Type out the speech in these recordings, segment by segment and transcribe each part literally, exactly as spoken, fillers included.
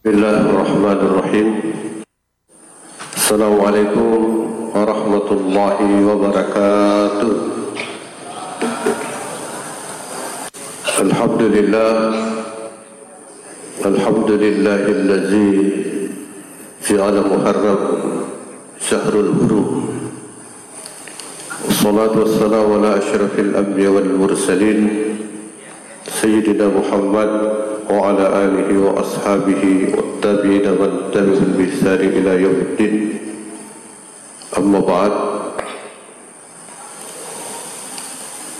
بسم الله الرحمن الرحيم. السلام عليكم ورحمة الله وبركاته. الحمد لله. الحمد لله الذي جعل محرم شهر الحرم. والصلاة والسلام على أشرف الأنبياء والمرسلين سيدنا محمد وعلى آله وأصحابه والتابعين ومن تبعهم بإحسان إلى يوم الدين. أما بعد.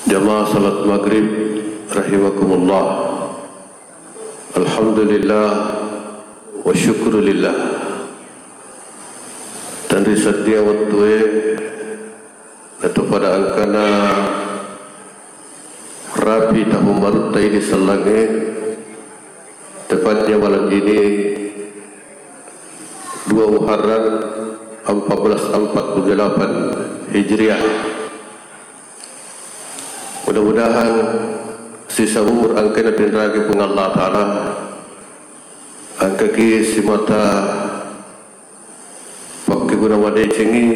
Jamaah salat maghrib rahimakumullah. Alhamdulillah wa syukrulillah. Tenri sedding wettue, natu pada engkana rapi tahun barutta idi sellangnge, tepatnya malam ini, dua Muharram empat belas empat puluh delapan Hijriah. Mudah-mudahan sisa umur engkana pinragi Puang Allah Ta'ala, engkaki simata pakkeguna madecengi,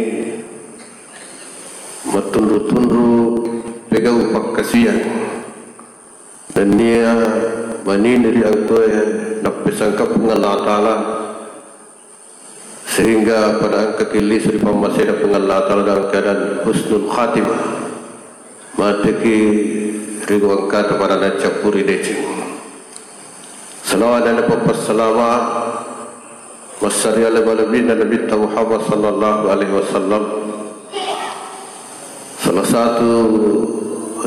mattunru-tunru pegau pakkasiang, nennia manini ri engkae nappesangka Puang Allah Ta'ala, sehingga pada engkaki lisu ri pammasena Puang Allah Ta'ala dalam keadaan husnul khatimah. Mateki ri engkata pada naccappuri deceng. Salawat dan pappasalama massari ala lebina Nabi Muhammad sallallahu alaihi wasallam. Salah satu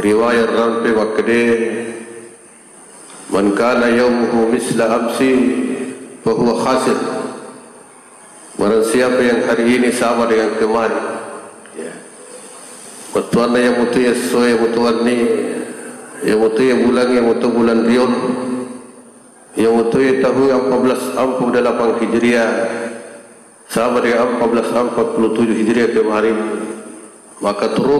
riwayat rampe makkede, "Man kana yaumuhu misla amsi fahuwa khasir." Barang siapa yang hari ini sama dengan kemarin, ya, bettuanna yang mutu essoe, yang mutu wenni, yang mutu bulan, yang mutu bulan riolo, yang mutu tahun empat belas empat puluh delapan Hijriah, sama dengan empat belas empat puluh tujuh Hijriah kemarin, maka turu